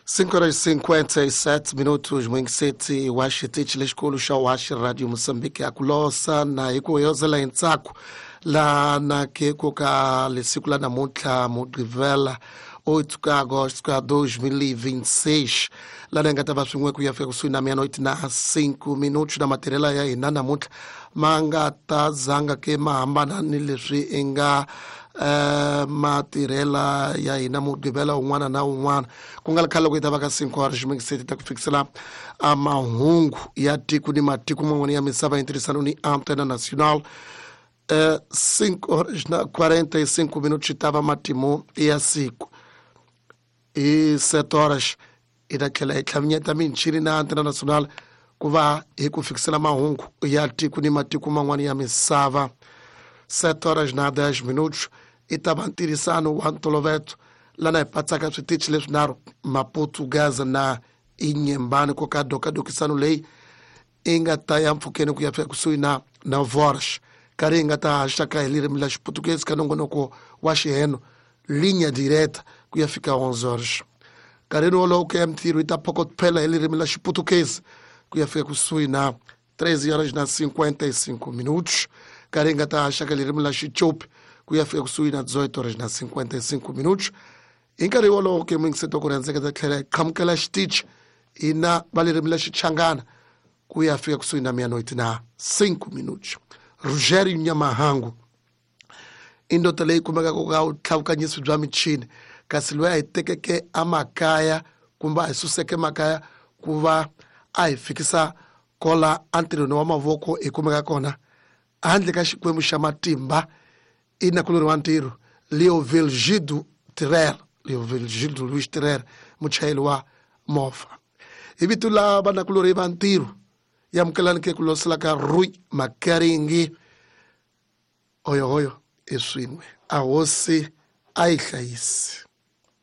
5 horas e 57 minutos mwingiseti wa xitichi lexikulu xa Waxi Radio Moçambique ya kulosa na hi ku yozela hi ntsako la na ke ku ka lesiku la namuntlha Mugqivela 8 ka agosto ka 2026 lana hi nga ta va swin'we ku ya fika kusuhi na meia-noite na 5 minutos na matirhela ya hina namuntlha ma nga ta zanga ke ma hambana ni leswi i nga matirhela ya hina Mugqivela wun'wana na wun'wana ku nga ri khale loko yi ta va ka 5 horas ximekiseti ta ku fikisela a mahungu ya tiko ni matiko man'wana ya misava hi ntirhisano ni Antena Nacional. 5 horas na 45 minutos xi ta va matimu ya siku. Hi 7 horas hi ta tlhela hi tlhavinyeta michini na Antena Nacional ku va hi ku fikisela mahungu ya tiko ni matiko man'wana ya misava. 7 horas na 10 minutos i ta va ntirhisano wa ntoloveto lana hi patsaka switichi leswinharhu Maputo, Gaza na Inhambane ku ka dokadokisano leyi i nga ta ya mpfhukeni ku ya fika kusuhi na 9 horas karhi hi nga ta haxaka hi ririmi la Xiputukezi ka nongonoko wa xiheno Linha Direta ku ya fika 11 horas. Nkarhini wolowo ku ya mintirho yi ta phokotela hi ririmi la Xiputukezi ku ya fika kusuhi na 13 horas na 55 minutos karhi hi nga ta haxaka ririmi la Xicopi ku ya fika kusuhi na 18 horas na 55 minutos. Hi nkarhi wolowo ke muyingiseti wa ku rhandzeka ta tlhela hi qhamukela xitichi hina va ririmi la Xichangana ku ya fika kusuhi na meia-noite na 5 minutos. Rogério Nyamahangu i ndoda leyi kumekaka ka vutlhavukanyisi bya michini kasi loyi a hi tekeke emakaya kumbe a hi suseke makaya ku va a hi fikisa kola entirhweni wa mavoko hi kumeka kona handle ka Xikwembu xa matimba i nakulorhi wa ntirho Leovilgido Tirera, Leovilgido Luis Tirera, muchayeri wa movha. Hi vito la vanakulorhi va ntirho yamukelani ke ku losela ka Rui Makaringi hoyohoyo i swin'we a hosi a yi hlayisi.